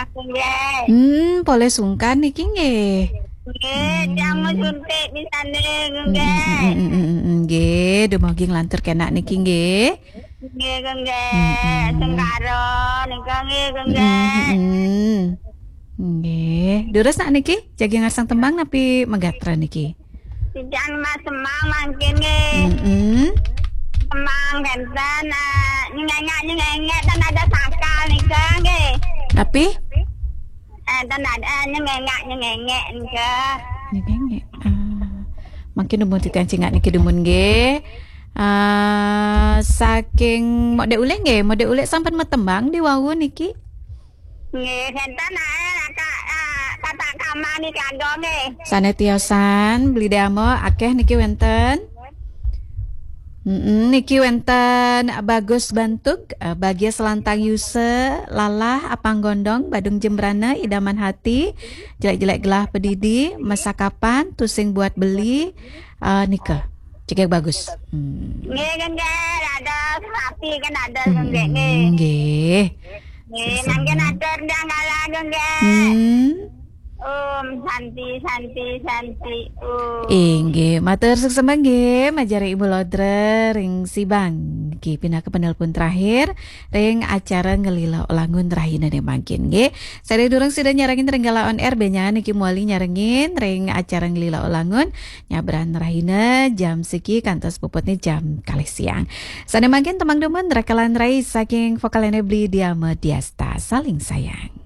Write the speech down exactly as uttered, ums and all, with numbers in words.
Aku nggih. Hmm, polih sungkan niki nggih. Nggih, tiang mau suntik misalnya Mm, nggih. mm, mm, mm, mm, mm, nggih, dumugi nglantur kenak niki nggih. Nggih, nggih. Mm-mm. Sengkara nika nggih, Mm, nggih. mm, mm. Nggih. Durus nak niki jagi ngarsang tembang napi megatra niki? Tiang mas semang mangkin nggih. Mm-mm. Semang benten, eh, nyengengak-nyengengak dan ada sangkal nika nggih. Tapi Eh, dan ada nyengengak-nyengengak nika. niki nggih. Ah, mangkin dumun titiang cingak niki dumun nggih. Ah, saking Mode Ulih nggih, Mode Ulih sampun matembang di wau niki. Nggih, benten, eh, kakak, eh, kakak kamar nika nggih. Sane tiosan, Beli Dama, akeh niki wenten. Mm-mm, niki wenten Bagus Bantug, eh, Bagia Selantang Yuse, Lalah Apang Gondong, Badung Jembrana, Idaman Hati, Jelek-jelek Gelah Pedidi, Mesakapan, Tusing Buat Beli, eh, nika. Cekek Bagus. Hmm. Nggih, nggih, ada rapi kan ada nggih, nggih. Hmm, nggih. Nggih, nanggen atur ndang kalah nggih. Hmm. Om Santi, Santi, Santi, Om. Inggih, matur suksma nggih, majeng Ibu Lodra ring Sibang. Niki pinaka penelpon terakhir ring acara Ngelila Ulangun rahinane mangkin nggih. Sadurung sida nyarengin ring Gala on Air, benjang niki mawali nyarengin ring acara Ngelila Ulangun nyabran rahina jam siki kantos puputne jam kalih siang. Sane mangkin tembang dumun Rekalan Rai saking vokalene Beli Diama Diasta, Saling Sayang.